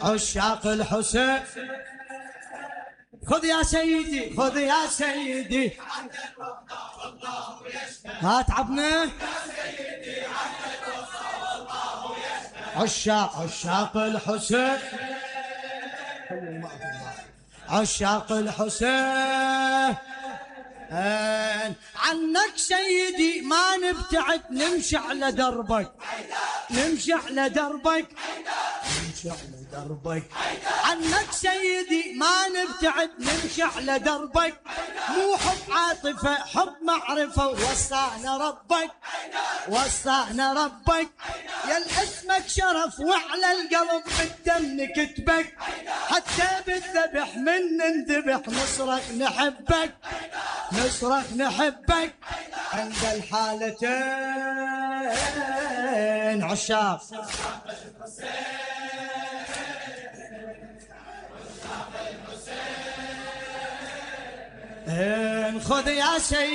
عشاق الحسين خذ يا سيدي خذ يا سيدي هات عبنا عشاق الحسين عشاق الحسين عنك سيدي ما نبتعد نمشي على دربك نمشي على دربك نمشي على دربك عنك سيدي ما نبتعد نمشي على دربك مو حب عاطفة حب معرفة وصانا ربك وصانا ربك يا اسمك شرف وعلى القلب بالدم نكتبك حتى بالذبح من نذبح نصرك نحبك نصرك نحبك عند الحالتين عشاق خذ يا سيدي